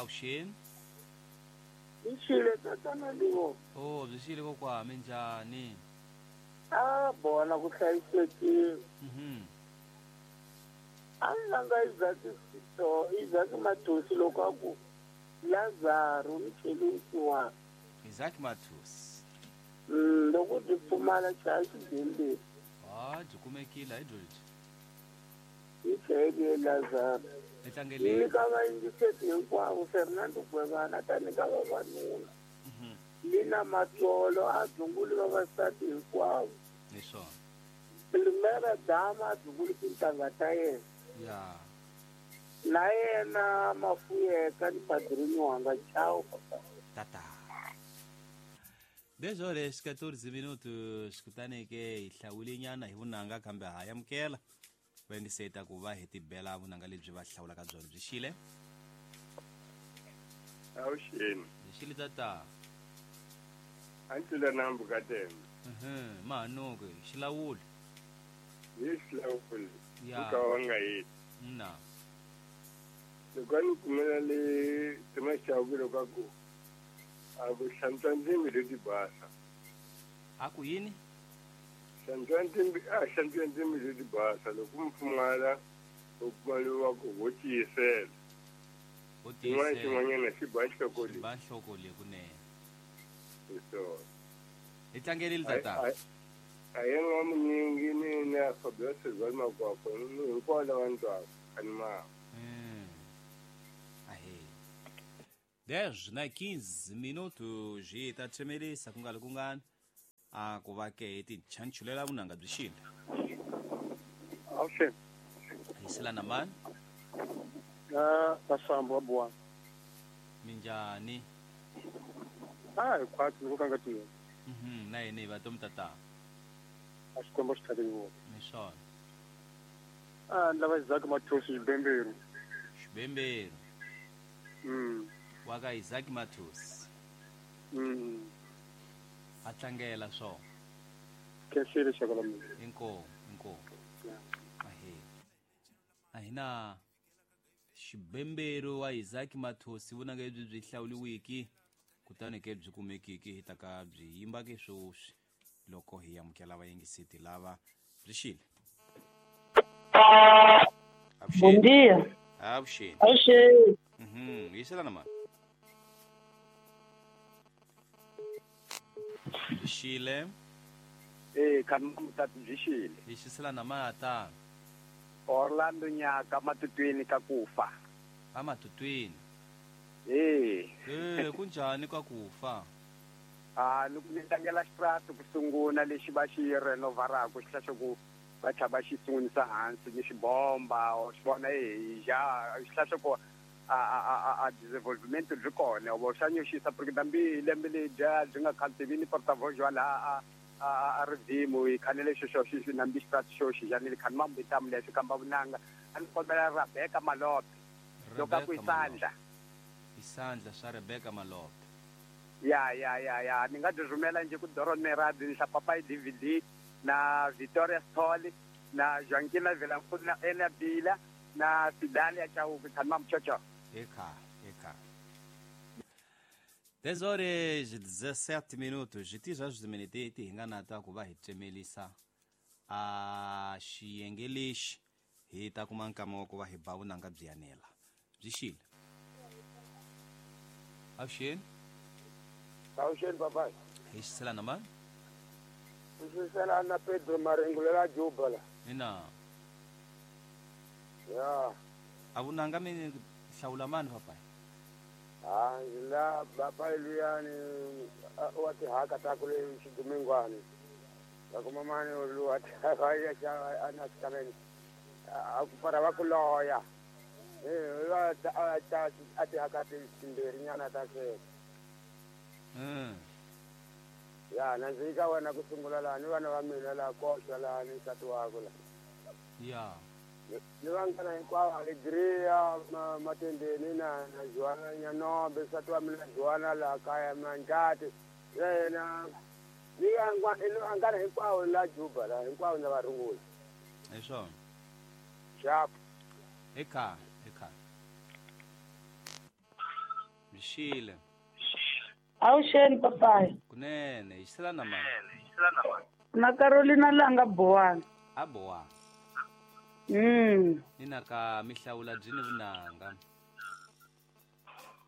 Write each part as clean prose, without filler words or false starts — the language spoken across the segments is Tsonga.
Avuxeni. Byi xile tatana Livo. Oh, byi xile kokwa, minjhani? A bona ku hlayisekile. A ni langa Isaac Sito, Isaac Mathosi loko a ku Lazaro ni chele vusiwana. Isaac Mathosi. Loko byi pfumala chaya xibembeni. Ah, byi kumekile hi byo lebyi. Yi chayele Lazaro. Ni tlangeleni. Nyika vayingiseti hinkwavo Fernando Gwevana ta nyika vavanuna. Lina Matsolo a dzunguli vavasati hinkwavo. Hi swona. Primera Dama a dzunguli tintangha ta yena. Ya. Na yena Mafuyeka ni Padrini wanga. Ciao papa. Tata. 10 horas 14 minutos kutani ke hi hlawule nyana hi vunanga kambe ha amukela va yingiseta ku va hi tibela vunanga lebyi va hlawulaka byona byi xile. Avuxeni. Byi xile tata. A ni tlula nambu ka tembe. Mahanuku xilawuli. Hi xilawuli. Ya. Nka wa nga yini. Na. Loko a ni kumela le Timaxaku loko a ku a ku hlantswa ndzimi leti basa. A ku yini? Hlantswa ndzimi, a hlantswa ndzimi leti basa loko mi pfumala u kuma loyi wa ku ho tiyisela. Ho Xin'wana tiyisela. xin'wanyana xi ba nhloko leyi. Xi ba nhloko leyi kunene. Hi swona. Hi tlangerile tata. A hi n'wamunyingi ni na Fabiola Silva Makwakwa ni hinkwavo lava ni twaka a ni mava. Ahee. 10 na 15 minutos hi ta tsemelisa ku nga ri kungani a ku va ke hi tichanchulela vunanga byi xile. Avuxeni. Hi sila na mani? Na Masambu wa Buwana. Minjhani? A hi khwatsi loko ka nga tivi. Na yena hi va tomu tata. A Xikwembu xi tlhake vona. Ni swona. A ni lava Isaac Mathosi Xibemberu. Xibemberu. Wa ka Isaac Mathosi. A tlangela swona. Khensile xaka la mina. Inkomu, inkomu. Ahee. A hi na Xibemberu wa Isaac Mathosi vunanga lebyi byi hlawuliwiki kutani ke byi kumekiki hi ta ka byi yimba ke sweswi loko hi amukela vayingiseti lava byi xile. Bom dia. Avuxeni. Avuxeni. Yiselana mani. Byi xile. Khani mutati byi xile. Hi xiselana mata. Orlando Nyaka matutwini ka kufa. A matutwini. Kunjhani ka kufa? A ni ku ni tlangela xitrati ku sungula lexi va xi renovaraka xi tlhela ku va tlhela va xi sungulisa hansi ni xibomba or xi vona hi ja xi tlhela ku a development byi kona vo xa nyoxisa porque dambi lembe ledya byi nga khantivini portavoz wa laha a ridzimu hi khanele xo xo xi nambi xitrati xo xi janile khani mambitamu leswi kamba vunanga a ni kombela Rebecca Malope loko a ku isandla. Isandla swa Rebecca Malope. Ya ya ya ya ni nga byi rhumela nje ku Doron Meradi ni Papai DVD na Victoria Sithole na Joaquina Vilankulu na Ena Bila na Fidalia Chauke khani mamchocho. Eka, eka. 10 horas 17 minutos. Ti swa swiminete ti hi nga na ta ku va hi tsemelisa a xiyenge lexi hi ta kuma nkama wa ku va hi ba vunanga byi yanela. Byi xile. Avuxeni. Avuxeni papai. Hi xiselana mani? Xiselana na Pedro Marengulela Juba la. Ina. Ya. A vunanga mi hlawula mani papai? Ah, la papai luyani wa tihaka ta kule xidumingwani. La kuma mani lu wa tihaka ya xa ana xikameni. A ku para va ku loya. Va ta a tihaka timbirhi nyana ta sweswi. Ya, na ndzi ka wena ku sungula laha ni vana va mina laha koxa laha ni nsati wakwe la. Ya. Ni vanghana hinkwavo Alegria Matendeni na Joana Nyanombe nsati wa mina Joana laha kaya Manjati yena ni vanghana hinkwavo la Juba la hinkwavo na va rungula. Hi swona. Xap. Eka, eka. Byi xile. Avuxeni papayi. Kunene, hi xisela na mani? Na Carolina Langa Bowani. A bowa. Ni na ka mihlawula byi ni vunanga.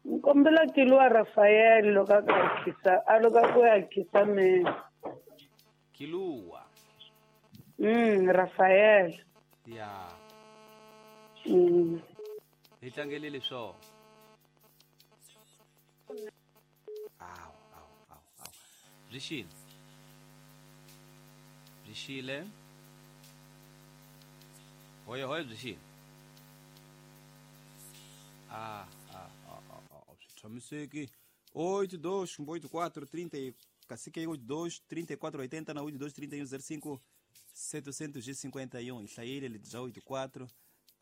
Ni kombela Kiluwa Rafael loko a ka khisa a loko ku ya khisameni. Kiluwa. Rafael. Ya. Hi tlangelele swona. Awu, awu, awu, awu. Byi xile. Byi xile. Hoye hoye byi xile. Ah, ah, ah, ah, ah, swi tshamiseki. 8 2 8 4 30 kasike 8 2 34 80 na 8 2 31 05 751. Hi hlayile lebyi bya 84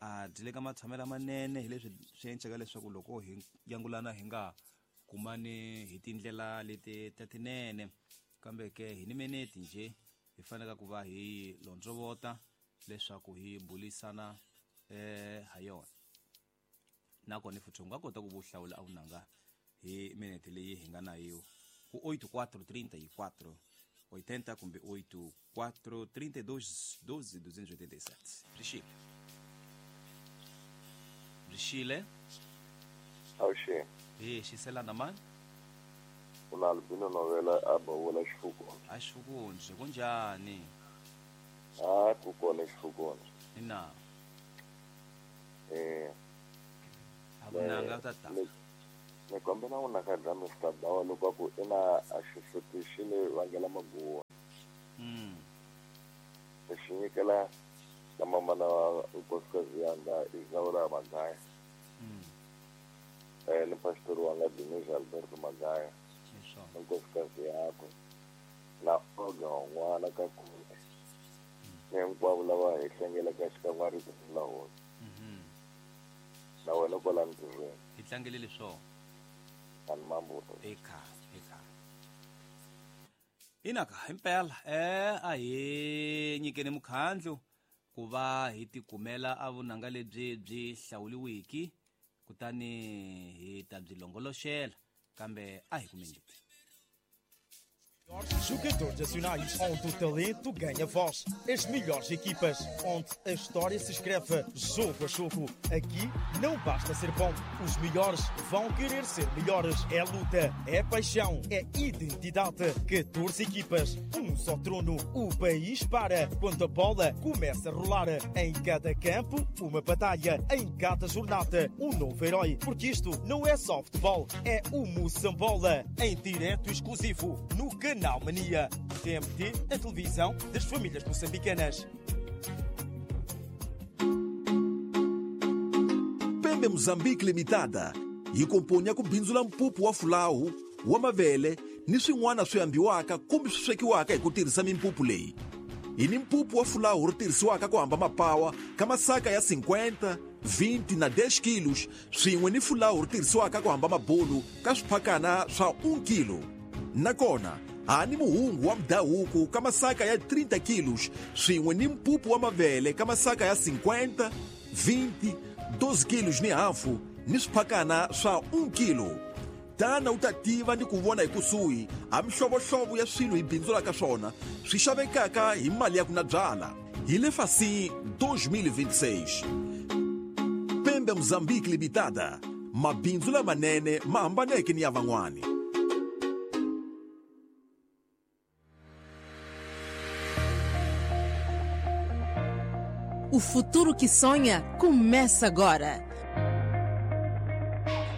a byi le ka matshamelo manene, hi leswi swi endlaka leswaku loko hi yangulana hi nga kumani hi tindlela leti ta tinene, kambe ke hi ni minete nje hi faneleka ku va hi londzovota leswaku hi bulisana ha yona. Nakona futhi u nga kota ku vuhlawula a vunanga hi minete leyi hi nga na yo ku 84 34 80 kumbe 84 32 12 287. Byi xile, byi xile. Avuxeni. Hi xiselana mani? Una Albino Novela a bavula Xifukwana. A Xifukundzi, kunjhani? A ku kona Xifukwana. Ina. A vunanga tata. Ni kombela u naka bya Mr. Bawa loko ku ina a xihluti xi ni vangela maguwa. Xi nyikela na mamana wa nkosikazi yanga Isaura Magaya. Ni pastor wanga Denise Alberto Magaya. Na nkosikazi yakwe na Olga n'wana ka kule. Ni hinkwavo lava hi hlengelaka xikan'we rito la hosi. Na wena kwala ntirhweni. Hi tlangelele swona. Ani mambuto. Eka, eka. Inaka impela a hi nyikeni mukhandlu ku va hi tikumela a vunanga lebyi byi hlawuliwiki, kutani hi ta byi longoloxela, kambe a hi kumeni lebyi. Jogadores nacionais, onde o talento ganha voz. As melhores equipas, onde a história se escreve jogo a jogo. Aqui não basta ser bom, os melhores vão querer ser melhores. É luta, é paixão, é identidade. 14 equipas, um só trono. O país para quando a bola começa a rolar. Em cada campo, uma batalha. Em cada jornada, um novo herói. Porque isto não é só futebol, é o Moçambola. Em direto exclusivo, no Canal Mania. TMT, a televisão das famílias moçambicanas. Pembe Mozambique Limitada yi komponya ku bindzula mpupu wa fulawu wa mavele ni swin'wana swi ambiwaka kumbe swi swekiwaka hi ku tirhisa mimpupu leyi. Hi ni mpupu wa fulawu ri tirhisiwaka ku hamba mapawa ka masaka ya 50, 20 na 10 kilos, swin'we ni fulawu ri tirhisiwaka ku hamba mabulu ka swiphakana swa 1 kilo. Nakona ha ni muhungu wa mudhahuku ka masaka ya 30 kilos, swin'we ni mpupu wa mavele ka masaka ya 50, 20, 12 kilos ni hafu ni swiphakana swa 1 kilo. Tana u ta tiva ni ku vona hi kusuhi ha mihlovohlovo ya swilo hi bindzulaka swona swi xavekaka hi mali ya ku na byala. Hi le Fasi 2026. Pembe Mozambique Limitada, mabindzu lamanene ma hambaneke ni ya van'wani. O futuro que sonha começa agora.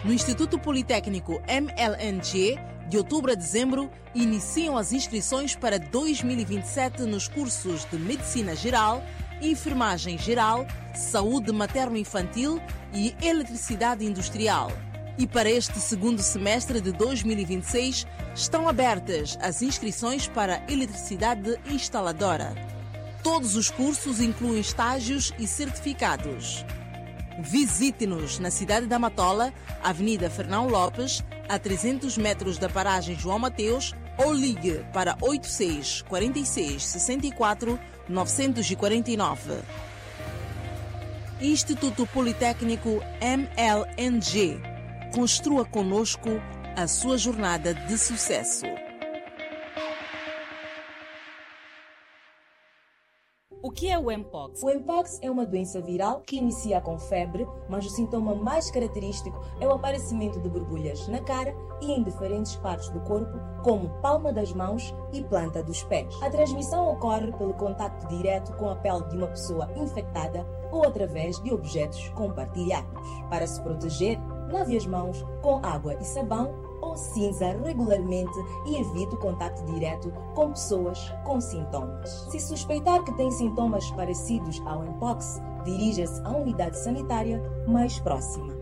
No Instituto Politécnico MLNG, de outubro a dezembro, iniciam as inscrições para 2027 nos cursos de Medicina Geral, Enfermagem Geral, Saúde Materno-Infantil e Eletricidade Industrial. E para este segundo semestre de 2026, estão abertas as inscrições para Eletricidade Instaladora. Todos os cursos incluem estágios e certificados. Visite-nos na cidade da Matola, Avenida Fernão Lopes, a 300 metros da paragem João Mateus, ou ligue para 86 46 64 949. Instituto Politécnico MLNG. Construa conosco a sua jornada de sucesso. O que é o Mpox? O Mpox é uma doença viral que inicia com febre, mas o sintoma mais característico é o aparecimento de borbulhas na cara e em diferentes partes do corpo, como palma das mãos e planta dos pés. A transmissão ocorre pelo contacto direto com a pele de uma pessoa infectada ou através de objetos compartilhados. Para se proteger, lave as mãos com água e sabão ou cinza regularmente e evite o contacto direto com pessoas com sintomas. Se suspeitar que tem sintomas parecidos ao Mpox, dirija-se à unidade sanitária mais próxima.